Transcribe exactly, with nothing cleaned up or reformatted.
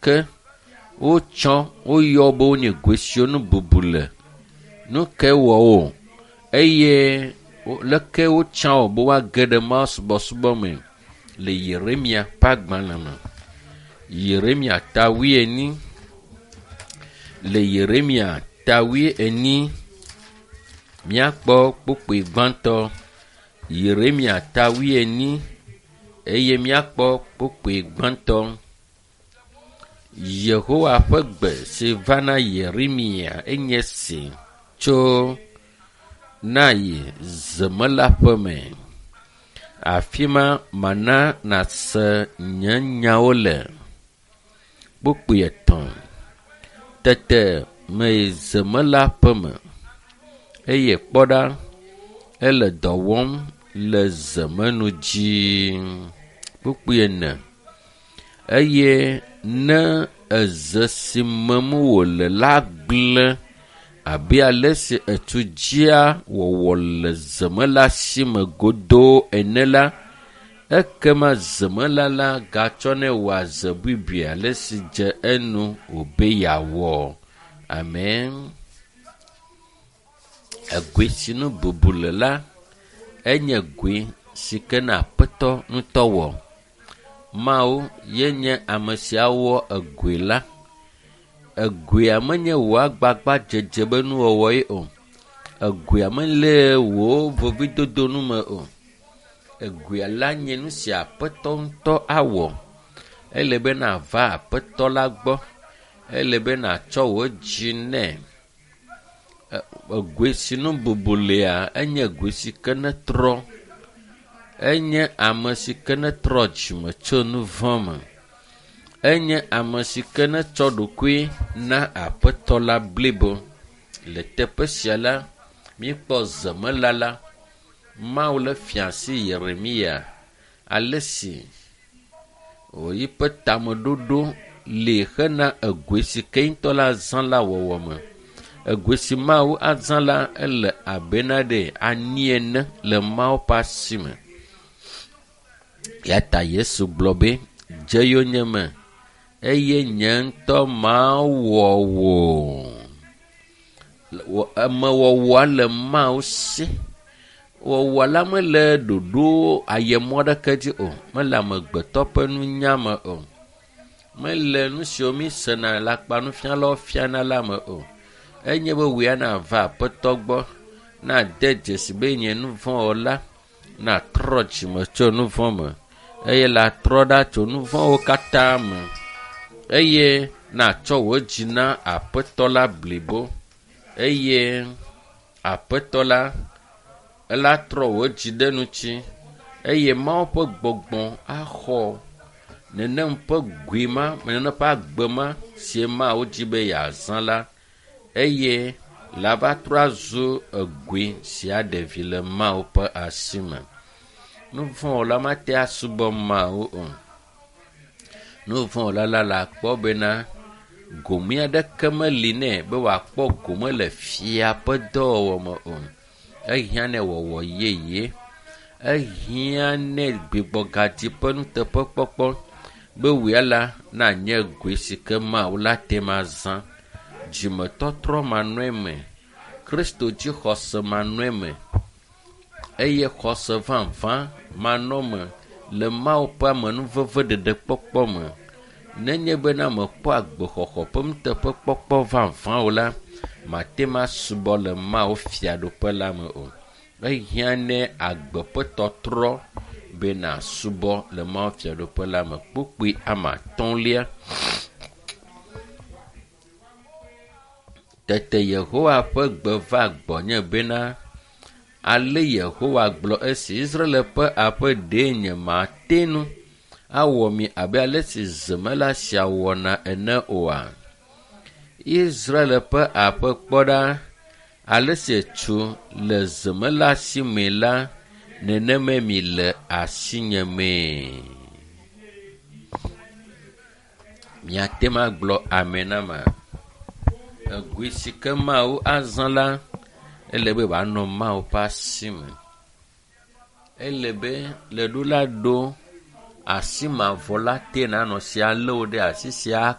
ke wotsɔ woyɔ be wonye goe siwo nu bubu le. Nu ke wɔ wo eye leke wotsã wo be woage ɖe Mawu subɔsubɔ me le Yeremia ƒe agbalẽ me. Yeremia ta wuienyi. Le Yeremia ta wuienyi míakpɔ kpukpui gbãtɔ. Yeremia ta wuienyi eye míakpɔ kpukpui gbãtɔ. Yehowa ƒe gbe si va na Yeremia enye si tso na yi zemela ƒe me. Afi ma mana nàse nye nyawo le. Kpukpui etɔ̃. Tete meyi zemela ƒe me eye kpɔ ɖa ele dɔ wɔm le zemenu dzi. Kpukpui ene. Eye ne eze si mem wòle la gblẽ abe ale si etu dzia wɔwɔ le zemela si me godoo ene la, ekema zemela la gatsɔnɛ wɔa ze bubui ale si dze enu wòbe yeawɔ. Amen. Egoe si nu bubu le la, enye goe si ke na Aƒetɔ ŋutɔ wɔ. Mawu ye nye ame si awɔ egoe la. Egoea menye wò agbagbadzedze be nuwɔwɔ ye o. Egoea mele wò vevidodo nu me o. Egoea la nye nu si Aƒetɔ ŋutɔ awɔ. Ele be nàva Aƒetɔ la gbɔ. Ele be nàtsɔ wò dzi nɛ. Egoe si nu bubu lea, enye goe si ke netrɔ. Enye ame si ke netrɔ dzime tso nu vɔ̃ me. Enye ame si ke netsɔ ɖokui na Aƒetɔ la blibo. Le teƒe sia la, míekpɔ zemela la. Mawu le fia asi Yeremia ale si wòyiƒe tameɖoɖo li hena egoe si ke ŋutɔ la zã la wɔwɔ me. Egoe si Mawu azã la ele abe na ɖe ani ene le Mawu ƒe asi me. Ya ta Yesu gblɔ be, dze yonyeme eye nye ŋutɔ mawɔ wò. Emewɔwɔa le Mawu si. Wɔwɔ la mele ɖoɖo ayemɔ aɖeke dzi o. Mele amegbetɔ ƒe nunya me o. Mele nu siwo mi sena le akpanufialawo fiana la me o. Enye be wòya nava Aƒetɔ gbɔ, nade dzesi be nye nu vɔ̃ wɔla, natrɔ dzime tso nu vɔ̃ me eye la trɔ ɖa tso nu vɔ̃wo katã me eye natsɔ wò dzi na Aƒetɔ la blibo eye Aƒetɔ la ela trɔ wò dzi ɖe ŋuti eye Mawu ƒe gbɔgbɔ axɔ nenem ƒe goe ma, nenem ƒe agbe ma si Mawu dzi be yeazã la eye la va trɔ azu egoe si aɖe vi le Mawu ƒe asi me. Nu vɔ̃ wɔla mate asubɔ Mawu o. Nu vɔ̃ wɔla la le akpɔ bena gome aɖeke meli nɛ be wòakpɔ gome le fia ƒe dɔwɔwɔ me o. Ehiã nɛ wɔwɔ yeye. Ehiã nɛ gbigbɔgadzi ƒe nuteƒekpɔkpɔ be wòya la nanye goe si ke Mawu la te ma zã. Dzimetɔtrɔ manɔe me. Kristo dzi xɔse manɔe me. Eye xɔse vavã manɔ me le Mawu ƒe amenuveve ɖeɖekpɔkpɔ me. Nenye bena mekpɔ agbexɔxɔ ƒe nuteƒekpɔkpɔ vavã o la, mate ma subɔ le Mawu fiaɖuƒe la me o. Ehiã nɛ agbe ƒe tɔtrɔ be nàsubɔ le Mawu fiaɖuƒe la me. Kpukpui ame atɔ̃lia. Tete Yehowa ƒe gbe va gbɔnye bena, ale Yehowa gblɔ esi Israel ƒe aƒe ɖee nye mate ŋu awɔ mi abe ale si zemela sia wɔna ene oa? Israel ƒe aƒe kpɔ ɖa, ale si tsu le zemela si me la, nenemae mi le asinye mee. Miate ŋu agblɔ amen na ma. Egoe si ke Mawu azã la, ele be wòanɔ Mawu ƒe asi me. Ele be le ɖo la ɖo asi mavɔ la te nanɔ si alé wò ɖe asi sia